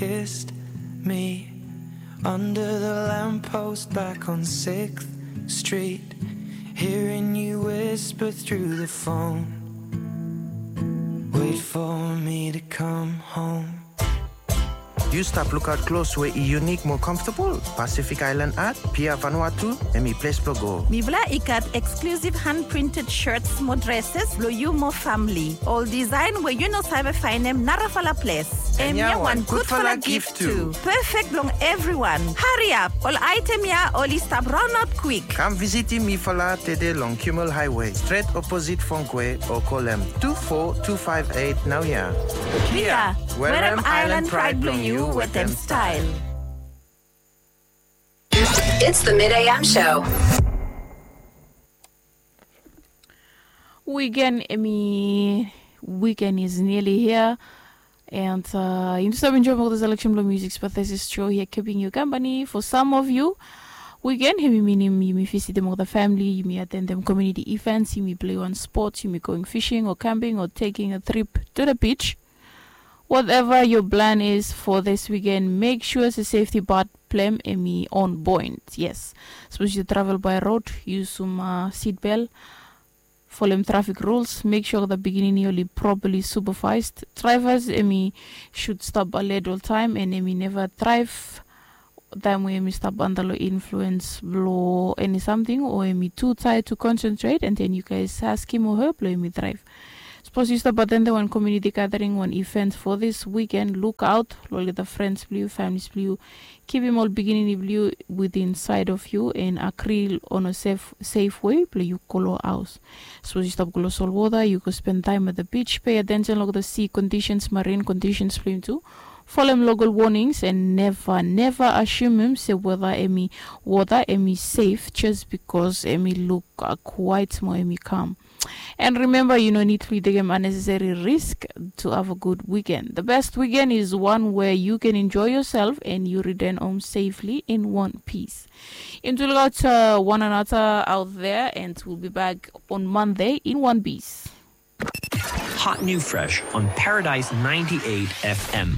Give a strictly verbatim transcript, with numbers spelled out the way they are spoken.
Kissed me under the lamppost back on sixth Street, hearing you whisper through the phone. Wait for me to come home. Yu stap lukaot klos we i yunik mo comfortable? Pacific Island Art, Pia Vanuatu, hemi ples blong go. Mifala i gat exclusive hand printed shirts mo dresses blong yu mo famili. Ol design we yu no save faenem narafala ples. Hemia wan gudfala gift tu. Perfect blong evriwan. Hariap, ol aetem ya oli stap raonaot kwik. Kam visitim mifala tede long Kimmel Highway, stret oposit Fongkwe, o kolem tu fo tu faef eit naoia. Pia, werem Island Pride blong yu wetem style. It's the Mid A M show. Weekend, hemi, weekend is nearly here. And uh, yumi stap enjoem olgeta selection blong music, but this is show here keeping you company for some of you. Weekend, hemi minim yumi visitim olgeta famili, yumi atendem community events, yumi plei wan sports, yumi going fishing or camping or taking a trip to the beach. Whatever your plan is for this weekend, make sure se safety part blong hem hemi on point. Yes. Sapos yu travel by road, yusum uh, seat belt, folem traffic rules, make sure the pikinini oli properly supervised. Drivers, hemi should stap alert oltaem, and hemi neva drive taem we hemi stap anda long influence blong eni samting, o hemi too tired to concentrate, and then you guys askem o her blong hemi drive. Sapos yu stap atendem wan community gathering, wan event for this weekend, lukaot long olgeta friends blong yu, families blong yu. Kipim ol pikinini blong yu within sight of you and agree on a safe, safe way blong yu go long haos. Sapos yu stap go long solwota, yu go spend taem at the beach, pay attention long olgeta sea conditions, marine conditions blong yu tu. Folem local warnings and neva, neva asumem se wota hemi, wota hemi safe just because hemi luk uh, kwaet mo hemi kam. And remember, yu no nid blong yu tekem unnecessary risk to have a good weekend. The best weekend is one where you can enjoy yourself and you return home safely in one piece. Yumi tu lukaot uh, one another out there, and we'll be back on Monday in one piece. Hot new fresh on Paradise ninety-eight F M.